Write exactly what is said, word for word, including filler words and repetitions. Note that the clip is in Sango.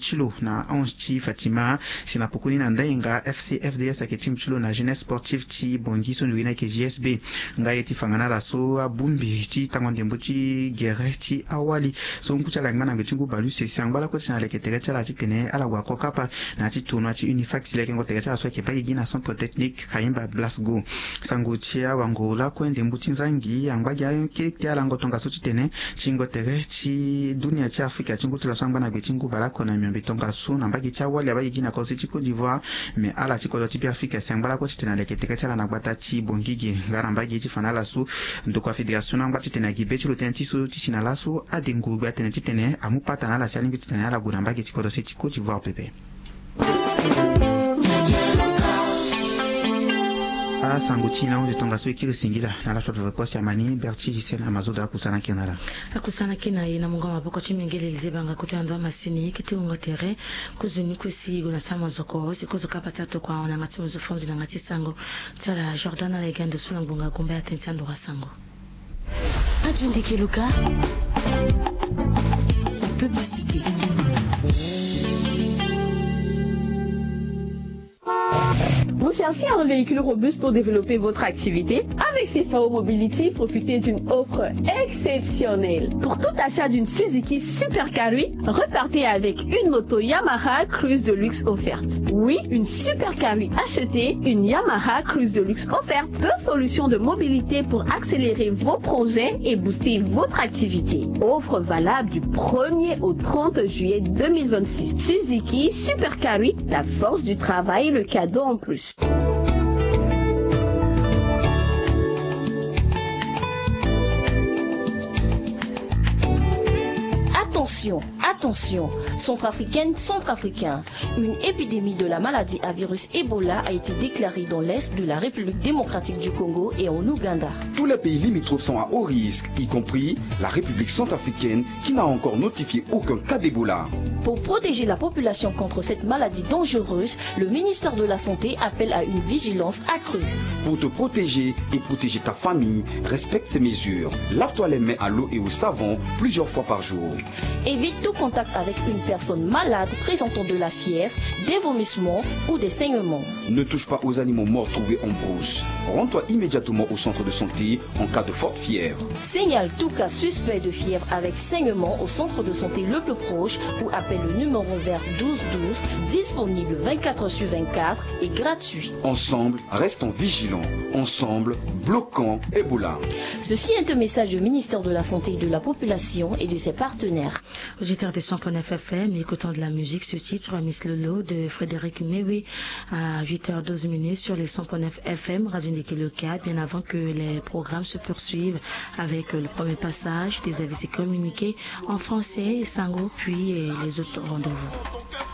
ti lo na onze ti Fatima. Si na pokoni na ndainga F C F D S ayeke timbi ti lo na Jeunesse Sportive ti Bangui so nzoni ayeke J S B. Nga ye ti fanga na ala so abongbi ti tango ndembo ti gere ti awali so ngu ti ala ayeke ngba na ngbe ti ngu baleuse si angba lakue ti na leke tere ti ala titene ala gue ako kapa na ya ti tournoi ti Unifact si leke ngo tere ti ala so ayeke baa gigi na centre technique Khaimba Blasgo. Sango ti awango lakue ndembo ti nzangi angba gi akete ala ngo tongaso titene ti ngo tere ti dunia ti Afrika ti ngu ti laso angba na gbe ti ngu bale oko na miombe tongaso na mbage ti awali abaa gigi na kodro se ti Côte d'Ivoire. Me ala ti kodro ti Beafrika si angba lakue titene aleke tere ti ala na gbata ti Bangui ge nga na mbage ti fa na ala so ndokua fédération angba titene agi be ti lo tënë ti so ti si na laso adengo gbe atene titene amu pata na ala si alingbi titene ala gue na mbage ti kodro se ti Côte d'Ivoire pepe. Asango ti na hunzi tongaso e kiri singila na ala so atoto kue si amani Berti Gisène Amazoda akusana kiri na ala. Akusana kiri na e na mungo maboko ti mengele Elise Banga kota na ndo amasini kete wungo tere. Kozoni kue si gue na ti amazoko si kozo kapa ti atokua na yanga ti mozo fonzi na yanga ti sango ti ala Jordan ala e ga ndo so na ngbonga gumba ya tënë ti andoro asango. Radio Ndeke Luka, la publicité. Vous cherchez un véhicule robuste pour développer votre activité ? Avec C F A O Mobility, profitez d'une offre exceptionnelle. Pour tout achat d'une Suzuki Super Carry, repartez avec une moto Yamaha Cruise de luxe offerte. Oui, une Super Carry achetée, une Yamaha Cruise de luxe offerte. Deux solutions de mobilité pour accélérer vos projets et booster votre activité. Offre valable du premier au trente juillet deux mille vingt-six. Suzuki Super Carry, la force du travail, le cadeau en plus. Attention, attention, Centrafricaine, Centrafricain, une épidémie de la maladie à virus Ebola a été déclarée dans l'est de la République démocratique du Congo et en Ouganda. Tous les pays limitrophes sont à haut risque, y compris la République centrafricaine, qui n'a encore notifié aucun cas d'Ebola. Pour protéger la population contre cette maladie dangereuse, le ministère de la Santé appelle à une vigilance accrue. Pour te protéger et protéger ta famille, respecte ces mesures. Lave-toi les mains à l'eau et au savon plusieurs fois par jour. Évite tout contact avec une personne malade présentant de la fièvre, des vomissements ou des saignements. Ne touche pas aux animaux morts trouvés en brousse. Rends-toi immédiatement au centre de santé en cas de forte fièvre. Signale tout cas suspect de fièvre avec saignement au centre de santé le plus proche ou appelle le numéro vert douze douze, disponible vingt-quatre heures sur vingt-quatre et gratuit. Ensemble, restons vigilants. Ensemble, bloquons Ebola. Ceci est un message du ministère de la Santé et de la Population et de ses partenaires. Auditeur de cent point neuf F M, écoutant de la musique, ce titre, Miss Lolo de Frédéric Mewi, à huit heures douze minutes sur les cent point neuf F M, Radio Ndeke Luka, bien avant que les programmes se poursuivent avec le premier passage des avis et communiqués en français, Sango, puis, euh, les autres rendez-vous.